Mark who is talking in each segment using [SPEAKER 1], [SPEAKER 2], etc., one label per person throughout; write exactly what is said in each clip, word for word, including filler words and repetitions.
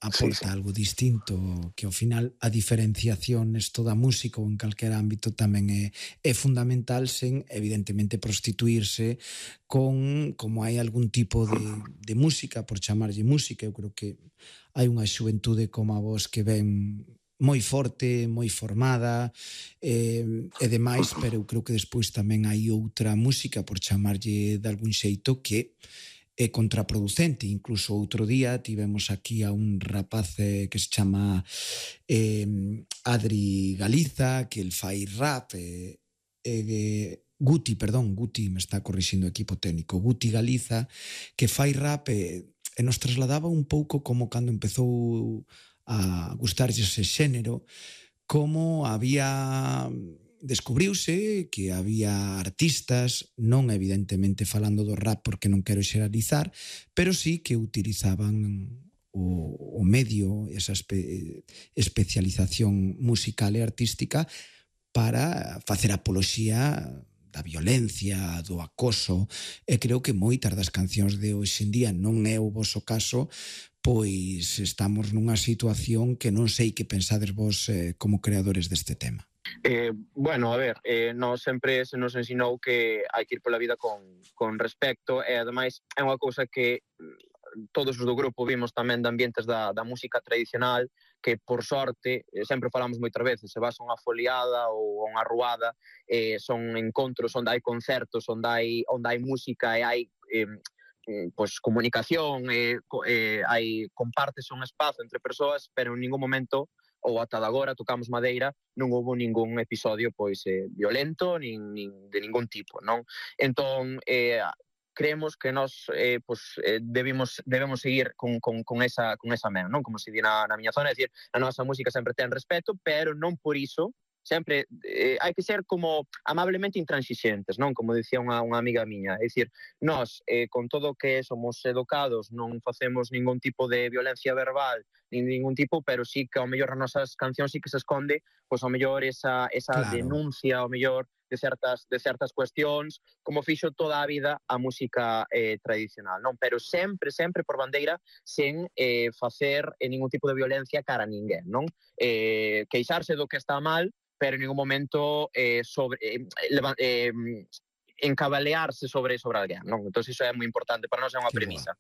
[SPEAKER 1] aporta sí, sí. algo distinto, que ao final a diferenciación nesto da música ou en calquera ámbito tamén é, é fundamental, sen evidentemente prostituirse con como hai algún tipo de, de música, por chamarlle música. Eu creo que hai unha xuventude como a vos que ven moi forte, moi formada eh, e demais, pero eu creo que despois tamén hai outra música, por chamarlle de algún xeito, que é contraproducente. Incluso outro día tivemos aquí a un rapaz eh, que se chama eh, Adri Galiza, que el fai rap, eh, eh, Guti, perdón, Guti, me está corrixindo o equipo técnico, Guti Galiza, que fai rap e, e nos trasladaba un pouco como cando empezou a gustarlle ese xénero, como había... descubriuse que había artistas, non evidentemente falando do rap porque non quero xeralizar, pero sí que utilizaban o, o medio, esa espe, especialización musical e artística para facer apoloxía da violencia, do acoso, e creo que moitas das cancións de hoxe en día, non é o voso caso, pois estamos nunha situación que non sei que pensades vos eh, como creadores deste tema.
[SPEAKER 2] Eh, bueno, a ver, eh, nos sempre se nos ensinou que hai que ir pola vida con, con respecto e ademais é unha cousa que todos os do grupo vimos tamén de ambientes da, da música tradicional que por sorte, sempre falamos moitas veces, se vas a unha foliada ou a unha ruada, eh, son encontros onde hai concertos, onde hai, onde hai música e hai eh, pues, comunicación, eh, eh, hai compartes un espazo entre persoas, pero en ningún momento ou ata de agora, tocamos madeira, non houve ningún episodio pois eh, violento, nin, nin de ningún tipo, non? Entón, eh, creemos que nós eh, pues, eh, debemos, debemos seguir con, con, con esa, con esa men, non? Como se di na, na miña zona, é dicir, a nosa música sempre ten respeto, pero non por iso, sempre eh, hai que ser como amablemente intransigentes, non? Como dicía unha, unha amiga miña, é dicir, nós eh, con todo o que somos educados non facemos ningún tipo de violencia verbal nin ningún tipo, pero sí que ao mellor nas nosas cancións sí que se esconde pois ao mellor esa, esa claro. denuncia ao mellor de certas, de certas cuestións, como fixo toda a vida a música eh, tradicional, non? Pero sempre, sempre por bandeira sen eh, facer eh, ningún tipo de violencia cara a ninguén, non? Eh, queixarse do que está mal, pero en ningún momento eh, sobre, eh, eh, encabalearse sobre, sobre alguén, non? Entón iso é moi importante, para nós é unha premisa.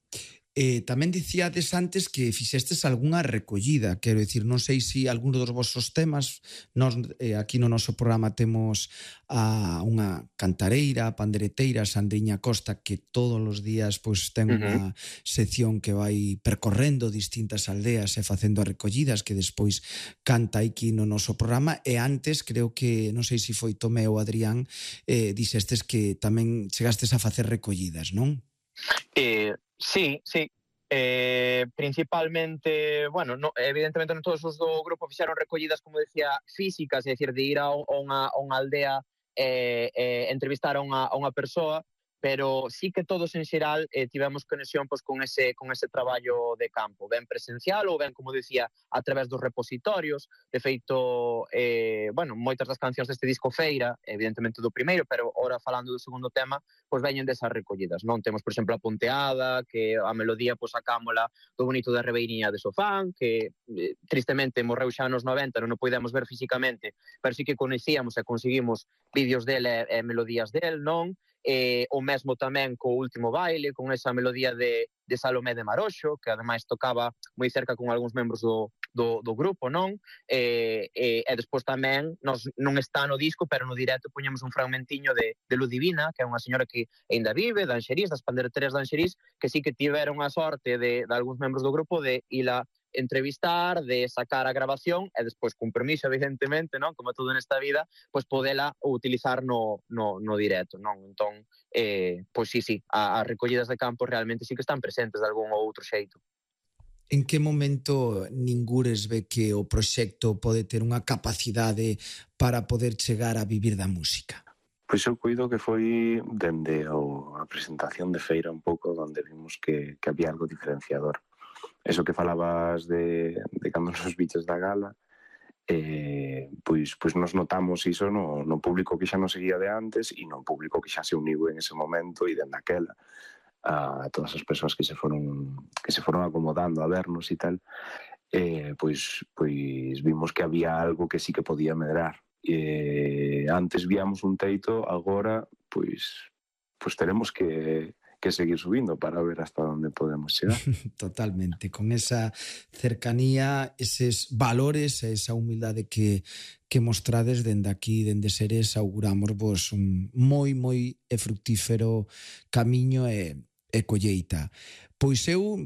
[SPEAKER 1] Eh, tamén dicíades antes que fixestes algunha recollida, quero dicir, non sei se alguno dos vosos temas, nós eh, aquí no noso programa temos a unha cantareira, pandereteira, Sandriña Costa, que todos os días pois ten unha uh-huh. sección que vai percorrendo distintas aldeas e facendo recollidas que despois canta aquí no noso programa, e antes creo que, non sei se foi Tomé ou Adrián, eh, dixestes que tamén chegastes a facer recollidas, non?
[SPEAKER 2] Eh, sí, sí. Eh, principalmente, bueno, no, evidentemente non todos os do grupo fixeron recollidas, como decía, físicas, é dicir, de ir a unha, a unha aldea e eh, eh, entrevistar a unha, a unha persoa, pero sí que todos en xeral eh, tivemos conexión pois, con, ese, con ese traballo de campo, ben presencial ou ben, como decía, a través dos repositorios. De feito, eh, bueno, moitas das cancións deste disco Feira, evidentemente do primeiro, pero ora falando do segundo tema, pois veñen desas recollidas, non? Temos, por exemplo, a Ponteada, que a melodía pois sacámola do bonito da Ribeiriña de Sofán, que eh, tristemente morreu xa nos noventa, non o podemos ver físicamente, pero sí que conhecíamos e conseguimos vídeos dele e, e melodías del, non? Eh, o mesmo tamén co Último Baile, con esa melodía de, de Salomé de Maroxo, que ademais tocaba moi cerca con algúns membros do, do, do grupo, non? E, e, e despois tamén, nos, non está no disco, pero no directo poñemos un fragmentiño de, de Ludivina, que é unha señora que ainda vive, de Anxerís, das pandereteras de Anxerís, que sí que tiveron a sorte de, de algúns membros do grupo de ila entrevistar, de sacar a grabación e despois, con permiso, evidentemente, non? Como todo nesta vida, pois podela utilizar no, no, no directo, non? Entón, eh, pois sí, sí, as recollidas de campo realmente sí que están presentes de algún ou outro xeito.
[SPEAKER 1] En que momento ningures ve que o proxecto pode ter unha capacidade para poder chegar a vivir da música?
[SPEAKER 3] Pois eu cuido que foi dende a presentación de Feira un pouco onde vimos que, que había algo diferenciador. Eso que falabas de, de cando nos biches da gala, eh, pois, pois nos notamos iso no, no público que xa nos seguía de antes e no público que xa se uniu en ese momento e dende aquela. a todas as persoas que se foron que se foron acomodando a vernos e tal, eh, pois, pois vimos que había algo que sí que podía medrar. Eh, antes víamos un teito, agora pois, pois teremos que, que seguir subindo para ver hasta onde podemos chegar.
[SPEAKER 1] Totalmente, con esa cercanía, eses valores, esa humildade que, que mostrades dende aquí, dende Seres, auguramos vos un moi, moi e fructífero camiño e, e colleita. Pois eu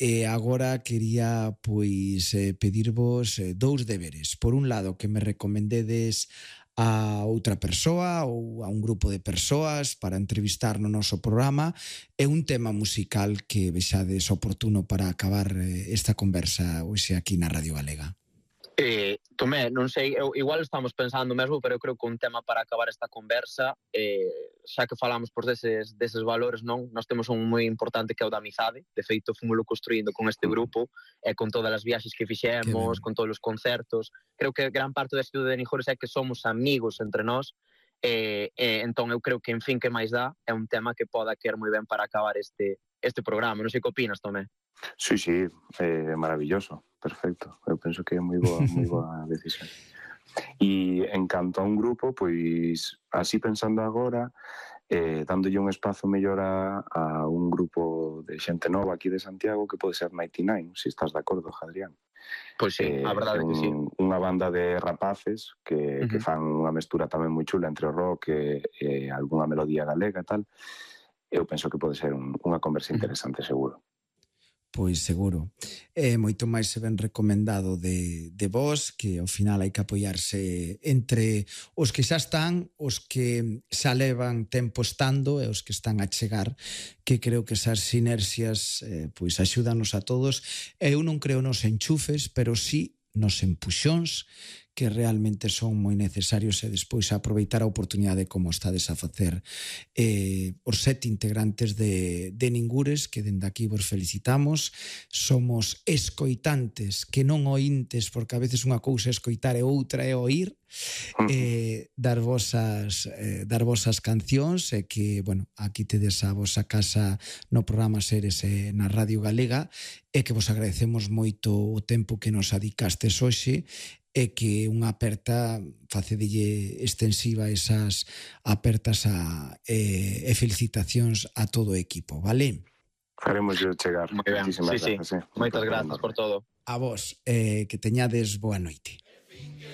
[SPEAKER 1] eh, agora quería pois eh, pedirvos eh, dous deberes. Por un lado, que me recomendedes a outra persoa ou a un grupo de persoas para entrevistar no noso programa e un tema musical que vexades oportuno para acabar eh, esta conversa hoxe aquí na Radio Galega.
[SPEAKER 2] Eh, Tomé, non sei, eu, igual estamos pensando mesmo, pero eu creo que un tema para acabar esta conversa, eh, xa que falamos por deses, deses valores, non? Nós temos un moi importante que é o da amizade. De feito, fomoslo construindo con este grupo e con todas as viaxes que fixemos, con todos os concertos. Creo que gran parte da estudo de Nijores é que somos amigos entre nós, e, e entón eu creo que, en fin, que máis dá, é un tema que poda querer moi ben para acabar este, este programa. Non sei que opinas, Tomé.
[SPEAKER 3] Sí, sí, eh, maravilloso, perfecto. Eu penso que é moi boa, moi boa decisión. E en canto a un grupo, pois, así pensando agora, eh, dándolle un espazo mellor a, a un grupo de xente nova aquí de Santiago, que pode ser noventa e nove, se estás de acordo, Adrián.
[SPEAKER 2] Pois sí,
[SPEAKER 3] eh,
[SPEAKER 2] a verdade é que sí.
[SPEAKER 3] Unha banda de rapaces que,
[SPEAKER 2] Uh-huh.
[SPEAKER 3] que fan unha mestura tamén moi chula entre o rock e, e algunha melodía galega e tal. Eu penso que pode ser un, unha conversa interesante, seguro.
[SPEAKER 1] Pois seguro. É moito máis se ben recomendado de, de vos, que ao final hai que apoiarse entre os que xa están, os que xa levan tempo estando e os que están a chegar, que creo que esas sinerxias eh, pois axúdanos a todos. Eu non creo nos enchufes, pero sí nos empuxóns que realmente son moi necesarios e despois aproveitar a oportunidade como estades a facer eh, os sete integrantes de, de Ningures, que dende aquí vos felicitamos. Somos escoitantes, que non ointes, porque a veces unha cousa é escoitar e outra é oír, eh, dar vosas eh, dar vosas cancións e que, bueno, aquí tedes a vosa casa no programa Seres e na Radio Galega e que vos agradecemos moito o tempo que nos adicastes hoxe e que unha aperta facedelle extensiva esas apertas a, e, e felicitacións a todo o equipo, vale?
[SPEAKER 3] Faremos yo chegar.
[SPEAKER 2] Moi ben, sí, sí.
[SPEAKER 3] Gracias, eh.
[SPEAKER 2] Moitas grazas por todo.
[SPEAKER 1] A vos, eh, que teñades boa noite.